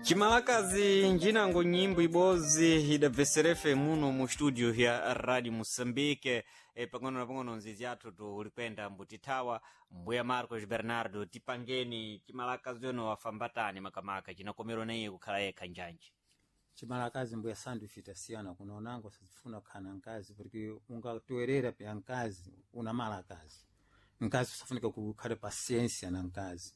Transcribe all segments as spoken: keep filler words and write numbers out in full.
Chimalakazi njinango nyimbo ibodzi idabveserefe muno mu studio ya Radio Moçambique. E, pang'ono na pang'ono nzizi athu tulikwenda mbutithawa. Mbuya Marcos Bernardo, tipangeni chimalakazi ono wafambatani makamaka chinakomerwa na iye kukhala yekha njanji. Chimalakazi mbuya sandu ife tasiyana kuno, nango sazifuna kukhala na nkazi porque ungatoerera pya nkazi unamala akazi nkazi usafunika kukhale pasiensia na nkazi.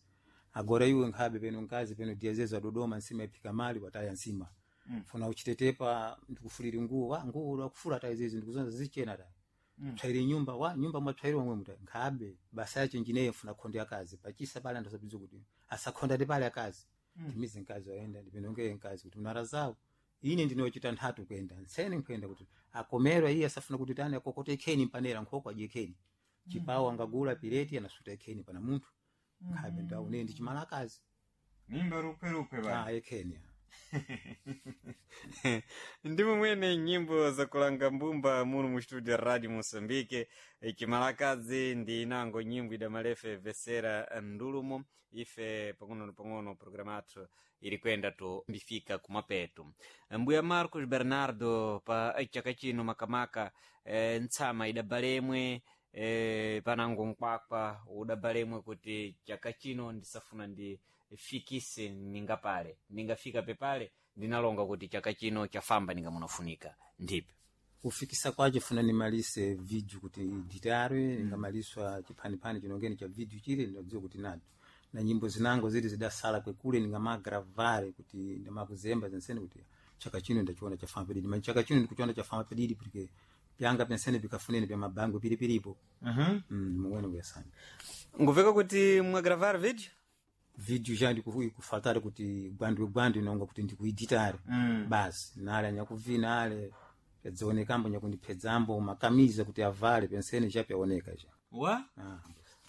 Agora iwe nkhabe peno nkazi peno diazezo adodoma nsima iphika mali wataya nsima mm. Funa uchitetepa ndikufuliri nguwo wa nguwo lwakufula tayi zizi ndikuzonza zichena tayi mm. Tsairi nyumba wa nyumba mwatsairi wamwe muta nkhabe basa yacho njineyo funa khondo yakazi pachisa pale anthu asabizo kuti asakhonda ndi pale akazi mm. Timizi nkazi waenda ndipinongeye nkazi kuti unarazawo ine ndinochita nthatu kwenda ntsene nkwenda kuti akomerwa iye asafuna kuti tani akokote ikheni mpanera nkhoko adye ikheni chipawo angagula pireti anasuta ikheni pana munthu nkhabe ndawo ne ndi chimalakazi. Mimba rukwerukwe ba. Ah, ikheni. Ndimo mwene nyimbo zakulanga mbumba muno mu studio Radio Moçambique. Chimalakazi ndi inango nyimbo idamalefe vesera ndulumo. Ife pang'ono na pang'ono programa athu ili kwenda tu mbifika kumapeto. Mbuya Marcos Bernardo, pa chaka chino makamaka e, ntsama idabalemwe e, panango nkwakwa udabalemwe kuti chaka chino ndisafuna ndifikise ningapale ningafika pepale ndinalonga kuti chaka chino chafamba ningamunafunika ndipe kufikisa kwacho funa nimalise video kuti ditarwe mm. Ningamaliswa chiphandiphandi chinongeni cha video chile ndinadziwa kuti nato na nyimbo zinango zili zidasala kwekule ningamagravare kuti ndimakuzemba zensene kuti chaka chino ndachiona chafamba pedidi ma chaka chino ndikuchiona chafamba pedidi porque pyanga pensene pikafunene pya mabango pilipilipo. Mhm. mm, muwene kuyasana nguveka kuti mwagravar video video ja ndikufatale kuti gwandwe gwandwe nonga kuti ndikuiditare Mm. basi nale anyakuvina ale pyadzionekambo nyakundiphedzambo makamiza kuti avale pensene chapyaoneka cha Wa? ah.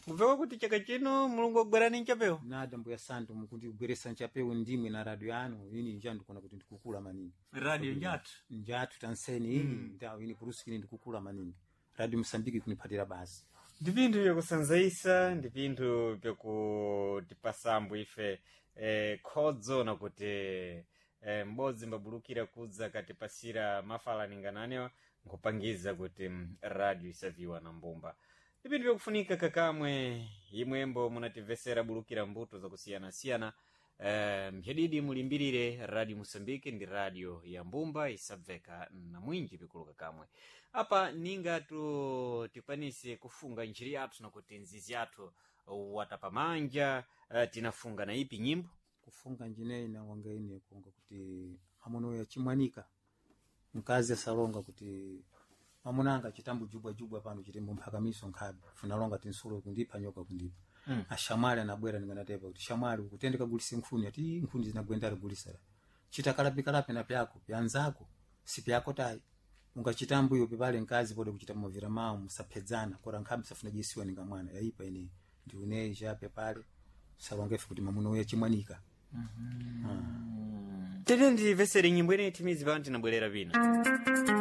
Nguveka kuti chaka chino Mulungu agwerani nchapewo. Nada mbuya santu mukundigweresa nchapewo ndimwe na radio yanu ini nja ndikuona kuti ndikukula maningi. Radio njathu. Njathu tanseni ini mm. Ndawo ini kurusikini ndikukula maningi Radio Mosambiki kuniphatira basi. Ndi pinthu vyakusanzaisa, ndi pinthu vyakutipasambo ife eh, khodzo nakuti eh, m'bodzi mbabulukira kudza katipasira mafalaninga nkupangiza kuti mm, radio isaviwa na mbumba. Ndi pinthu vyakufunika kakamwe imwembo munatimvesera bulukira mbuto zakusiyanasiyana. Eh, mphedidi mulimbirire Radio Moçambique ndi radio ya mbumba isabveka na mwinji pikulu kakamwe. Apa ninga tu tikwanise kufunga njiri yathu nakuti nzizi yathu watapamanja. Eh, tinafunga na ipi nyimbo? Kufunga njineyi nawanga ine kuonga kuti mamuno yachimwanika mkazi asalonga kuti mamunanga chitambo jubwajubwa pano chitembo mphakamiso nkhabe funalonga tinsulo kundipha nyoka kundipha mm. Ashamwali anabwera ndinganatepa kuti shamwali ukutende kagulise nkhuni ati nkhuni zinagwendera gulisera chitakalapikalapi na pyako pyanzako sipyako tayi ungachitambo iyo pipale nkazi pode kuchita mavira mawo musaphedzana kora nkhabe safuna jisiwa ninga mwana yaipa ine ndiuneyi chape pale salongefe kuti mamuno yachimwanika. Tete ndivesere nyimbo ineyi timizi pano tinabwerera pina.